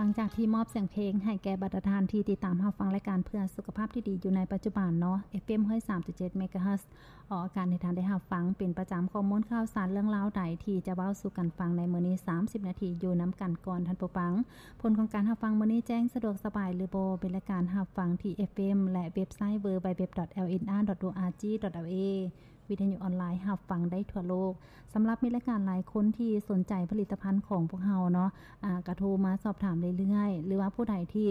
ຫຼັງຈາກທີ່ມອບສຽງເພງໃຫ້ແກ່ບັນດາທ່ານທີ່ຕິດຕາມຮັບຟັງລາຍການເພື່ອສຸຂະພາບທີ່ດີຢູ່ໃນປັດຈຸບັນເນາະ ເອັຟເອັມຮ້ອຍສາມຈຸດເຈັດ ເມກາເຮີດ ອອກອາກາດໃຫ້ທ່ານໄດ້ຮັບຟັງເປັນປະຈຳ ຂໍ້ມູນຂ່າວສານເລື່ອງລາວໃດທີ່ຈະເວົ້າສູ່ກັນຟັງໃນມື້ນີ້ ສາມສິບນາທີ ຢູ່ນຳກັນກ່ອນທ່ານຜູ້ຟັງ. ຜົນຂອງການຮັບຟັງມື້ນີ້ແຈ້ງສະດວກສະບາຍຫຼືບໍ່ ເປັນລາຍການຮັບຟັງທີ່ ເອັຟເອັມ ແລະ ເວັບໄຊ ดับเบิลยู ดับเบิลยู ดับเบิลยู ดอท เอล เอ็น อาร์ ดอท โอ อาร์ จี ดอท แอล เอ ວິທະຍຸອອນລາຍຮັບຟັງໄດ້ທົ່ວໂລກ. ສຳລັບມີລາຍການຫຼາຍຄົນທີ່ສົນໃຈຜະລິດຕະພັນຂອງພວກເຮົາເນາະ ອາ ກະໂທມາສອບຖາມເລື້ອຍໆ ຫຼືວ່າຜູ້ໃດທີ່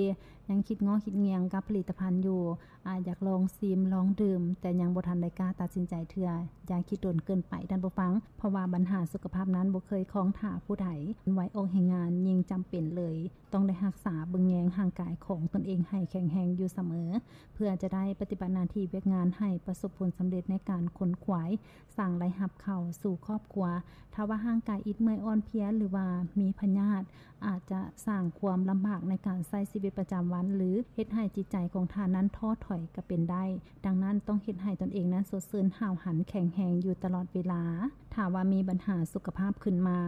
ຍັງຄິດງໍຄິດງຽງກັບຜະລິດຕະພັນຢູ່ ອາ ຢາກລອງຊີມລອງດື່ມ ແຕ່ຍັງບໍ່ທັນໄດ້ກ້າຕັດສິນໃຈເທື່ອ ຢ່າຄິດດົນເກີນໄປທ່ານຜູ້ຟັງ ເພາະວ່າບັນຫາສຸຂະພາບນັ້ນບໍ່ເຄີຍຄອງຖ້າຜູ້ໃດ. ວັຍອອກແຮງງານຍິ່ງຈຳເປັນເລີຍ ຕ້ອງໄດ້ຮັກສາເບິ່ງແຍງຮ່າງກາຍຂອງຕົນເອງໃຫ້ແຂງແຮງຢູ່ສະເໝີ ເພື່ອຈະໄດ້ປະຕິບັດໜ້າທີ່ວຽກງານໃຫ້ປະສົບຜົນສຳເລັດໃນການຂົນຂວາຍ ສ້າງລາຍຮັບເຂົ້າສູ່ຄອບຄົວ. ຖ້າວ່າຮ່າງກາຍອິດເມື່ອຍອ່ອນເພຍ ຫຼືວ່າມີພະຍາດ ອາດຈະສ້າງຄວາມລຳບາກໃນການໃຊ້ຊີວິດປະຈຳວັນ ຫຼື ເຮັດໃຫ້ຈິດໃຈຂອງທ່ານນັ້ນທໍ້ຖອຍກໍເປັນໄດ້. ດັ່ງນັ້ນ ຕ້ອງເຮັດໃຫ້ຕົນເອງນັ້ນສົດຊື່ນຫ້າວຫັນແຂງແຮງຢູ່ຕະຫຼອດເວລາ. ຖ້າວ່າມີບັນຫາສຸຂະພາບຂຶ້ນມາ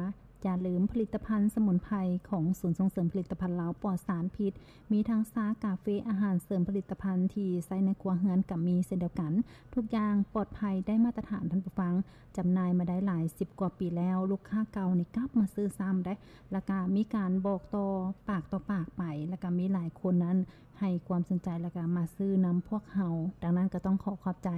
ຢ່າລືມຜະລິດຕະພັນສະໝຸນໄພຂອງສູນສົ່ງເສີມຜະລິດຕະພັນລາວປອດສານພິດ ມີທັງຊາ, ກາເຟ, ອາຫານເສີມ, ຜະລິດຕະພັນທີ່ໃຊ້ໃນຄົວເຮືອນກໍມີເຊັ່ນດຽວກັນ. ທຸກຢ່າງປອດໄພໄດ້ມາດຕະຖານທ່ານຜູ້ຟັງ. ຈຳໜ່າຍມາໄດ້ຫຼາຍສິບກວ່າປີແລ້ວ, ລູກຄ້າເກົ່ານີ້ກັບມາຊື້ຊ້ຳເດ້ ແລ້ວກະມີການບອກຕໍ່ປາກຕໍ່ປາກໄປ ແລ້ວກະມີຫຼາຍຄົນນັ້ນໃຫ້ຄວາມສົນໃຈ ແລ້ວກະມາຊື້ນຳພວກເຮົາ. ດັ່ງນັ້ນກໍຕ້ອງຂໍຂອບໃຈ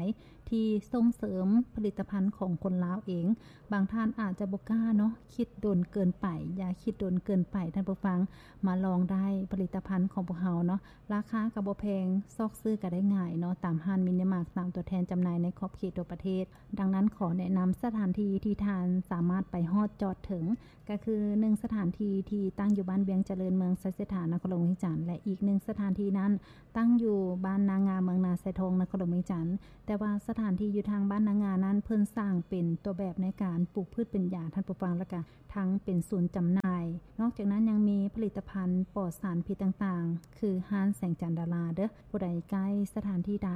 ທີ່ສົ່ງເສີມຜະລິດຕະພັນຂອງຄົນລາວເອງ. ບາງທ່ານອາດຈະບໍ່ກ້າເນາະ, ຄິດດົນເກີນໄປ, ຢ່າຄິດດົນເກີນໄປທ່ານຜູ້ຟັງ, ມາລອງໄດ້ຜະລິດຕະພັນຂອງພວກເຮົາເນາະ. ລາຄາກໍບໍ່ແພງ, ຊອກຊື້ກໍໄດ້ງ່າຍເນາະ, ຕາມຮ້ານມິນິມາດ, ຕາມຕົວແທນຈຳໜ່າຍໃນຂອບເຂດທົ່ວປະເທດ. ດັ່ງນັ້ນ ຂໍແນະນຳສະຖານທີ່ທີ່ທ່ານສາມາດໄປຮອດຈອດເຖິງ ກໍຄື ໜຶ່ງ ສະຖານທີ່ທີ່ຕັ້ງຢູ່ບ້ານວຽງຈະເລີນ ເມືອງໄຊເສດຖາ ນະຄອນຫຼວງວຽງຈັນ ແລະ ອີກ ໜຶ່ງ ສະຖານທີ່ນັ້ນຕັ້ງຢູ່ບ້ານນາງາ ເມືອງນາຊາຍທອງ ນະຄອນຫຼວງວຽງຈັນ. ແຕ່ວ່າສະຖານທີ່ຢູ່ທາງບ້ານນາງານັ້ນ ເພິ່ນສ້າງເປັນຕົວແບບໃນການປູກພືດເປັນຢາທ່ານຜູ້ຟັງ ແລ້ວກະທັງເປັນສູນຈຳໜ່າຍ. ນອກຈາກນັ້ນຍັງມີຜະລິດຕະພັນປອດສານພິດຕ່າງໆ ຄືຮ້ານແສງຈັນດາລາເດີ້. ຜູ້ໃດໃກ້ສະຖານທີ່ໃດ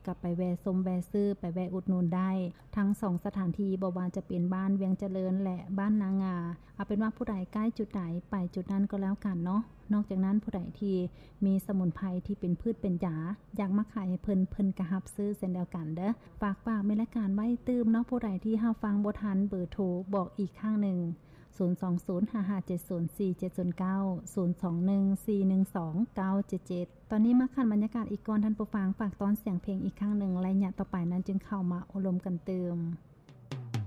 ກໍໄປແວ່ຊົມແວ່ຊື້ ໄປແວ່ອຸດໜູນໄດ້ ທັງສອງສະຖານທີ່ ບໍ່ວ່າຈະເປັນບ້ານວຽງຈະເລີນ ແລະ ບ້ານນາງາ. ເອົາເປັນວ່າຜູ້ໃດໃກ້ຈຸດໃດ ໄປຈຸດນັ້ນກໍແລ້ວກັນເນາະ. ນອກຈາກນັ້ນ ຜູ້ໃດທີ່ມີສະໝຸນໄພທີ່ເປັນພືດເປັນຢາ ຢາກມາຂາຍໃຫ້ເພິ່ນ ເພິ່ນກໍຮັບຊື້ເຊັ່ນດຽວກັນເດີ້. ຝາກ ຝາກແມ່ນລາຍການໄວ້ຕື່ມເນາະ, ຜູ້ໃດທີ່ຮັບຟັງບໍ່ທັນ ເບີໂທບອກອີກຄັ້ງໜຶ່ງ ສູນສອງສູນ ຫ້າຫ້າເຈັດສູນ ສີ່ເຈັດສູນເກົ້າ ສູນສອງໜຶ່ງ ສີ່ໜຶ່ງສອງ ເກົ້າເຈັດເຈັດ. ຕອນນີ້ມາຂັ້ນບັນຍາກາດອີກກ່ອນທ່ານຜູ້ຟັງ, ຝາກຕ້ອນສຽງເພງອີກຄັ້ງໜຶ່ງ, ໄລຍະຕໍ່ໄປນັ້ນຈຶ່ງເຂົ້າມາໂອ້ລົມກັນຕື່ມ.